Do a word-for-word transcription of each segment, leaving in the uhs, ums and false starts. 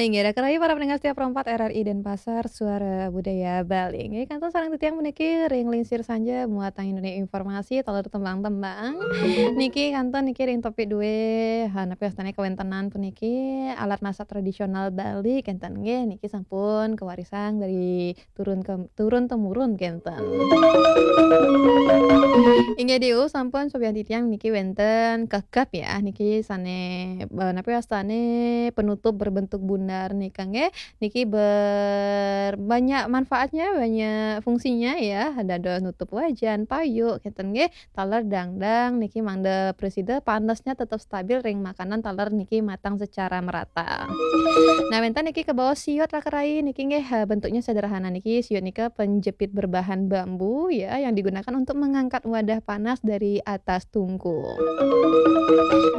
Inggih, raka rayi para pendengar setia Pro empat R R I Denpasar, Suara Budaya Bali. Inggih, kantun sareng titiang puniki ring lingsir sanja muatang Indonesia informasi taler tembang-tembang. Niki kantun niki ring topik due, ha, napi wastane kawentenan puniki alat masak tradisional Bali kenten nggih, niki sampun kawarisang dari turun ke, turun temurun kenten. Inggih diu sampun sobian titiang niki wenten kekep ya, niki sane, eh, napi wastane penutup berbentuk bundar nika nggih. Niki ber-, banyak manfaatnya, banyak fungsinya ya. Dados nutup wajan, payu kenten nggih. Taler dangdang niki mangda presida panesnya tetap stabil ring makanan taler niki matang secara merata. Nah, wenten niki kabaos siut raka rayi niki nggih, eh, bentuknya sederhana niki. Siut nika penjepit berbahan bambu ya yang digunakan untuk mengangkat wadah panas dari atas tungku.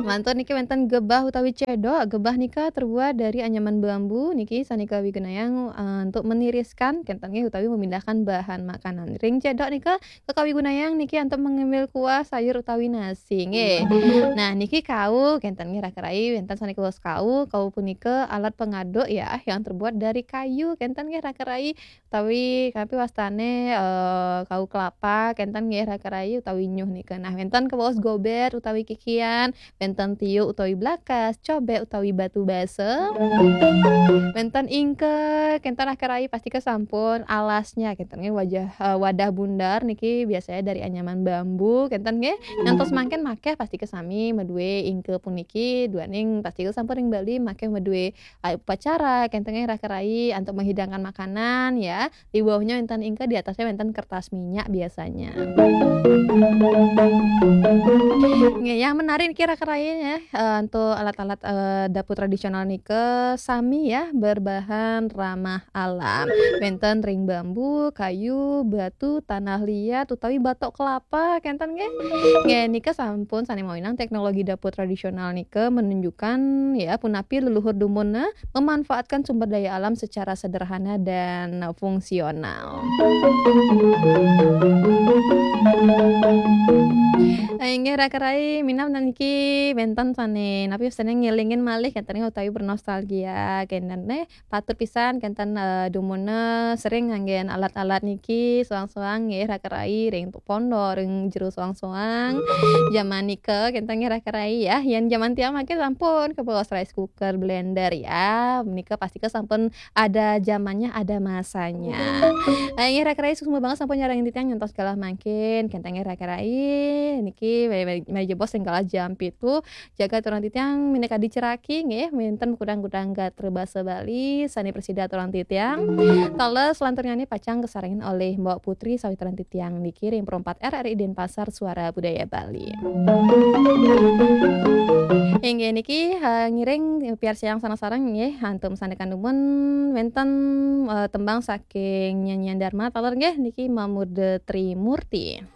Lantur niki wenten gebah utawi cedok. Gebah nika terbuat dari anyaman bambu niki sane kawigunayang, eh, untuk meniriskan kenten nggih utawi memindahkan bahan makanan. Ring cedok nika kakawigunayang niki antuk mengambil kuah sayur utawi nasi nggih. Nah, niki kau kenten nggih raka rayi, wenten sane kabaos kau. Kau punika alat pengaduk ya yang terbuat dari kayu kenten nggih raka rayi, utawi napi wastane, eh, kau kelapa kenten nggih raka rayi utawi nyuh nika. Nah, wenten kabaos gober utawi kikian, wenten tiuk utawi blakas, cobek utawi batu basa. Wenten ingke kenten raka rayi, pastika sampun alasnya kenten nggih, wajah, eh, wadah bundar niki biasanya dari anyaman bambu kenten nggih. Ngantos mangkin makeh pastika sami madue ingke puniki, duaning pastika sampun ring Bali makeh madue upacara kenten nggih raka rayi antuk menghidangkan makanan ya. Di bawahnya wenten ingke, di atasnya wenten kertas minyak biasanya. Nggih, yang menarik niki raka rayi ya, eh, antuk alat-alat, eh, dapur tradisional nika sami ya berbahan ramah alam. Wenten ring bambu, kayu, batu, tanah liat utawi batok kelapa kenten nggih. Nggih, nika sampun sane mawinan teknologi dapur tradisional nika menunjukkan ya punapi leluhur dumun memanfaatkan sumber daya alam secara sederhana dan fungsional. Nah, inggih raka rayi, minab niki wenten sane napi wastane ngelingin malih kenten utawi bernostalgia kenten nggih. Patut pisan kenten, eh, dumun sering nganggen alat-alat niki soang-soang nggih raka rayi ring pondok, ring jero soang-soang. Jaman nika kenten nggih raka rayi ya. Yen jaman tiang mangkin sampun kabaos rice cooker, blender ya. Nika pastika sampun ada zamannya, ada masanya. Nah, inggih raka rayi suksma banget sampun nyarengin titiang ngantos galah mangkin. Kenten nggih raka rayi niki mari, mari, mari jebos ring galah jam pitu. Jagat aturang titiang minakadi ceraki nggih, wenten kudang-kudang gatra basa Bali sane prasida aturang titiang. Taler selanturnyane pacang kasarengin olih Mbok Putri sawitran titiang niki ring Pro empat R R I Denpasar, Suara Budaya Bali. Inggih niki, eh, ngiring piarsayang sareng-sareng nggih, antuk masandekan dumun wenten, eh, tembang saking Nyanyian Dharma taler nggih niki Mamurda Trimurti.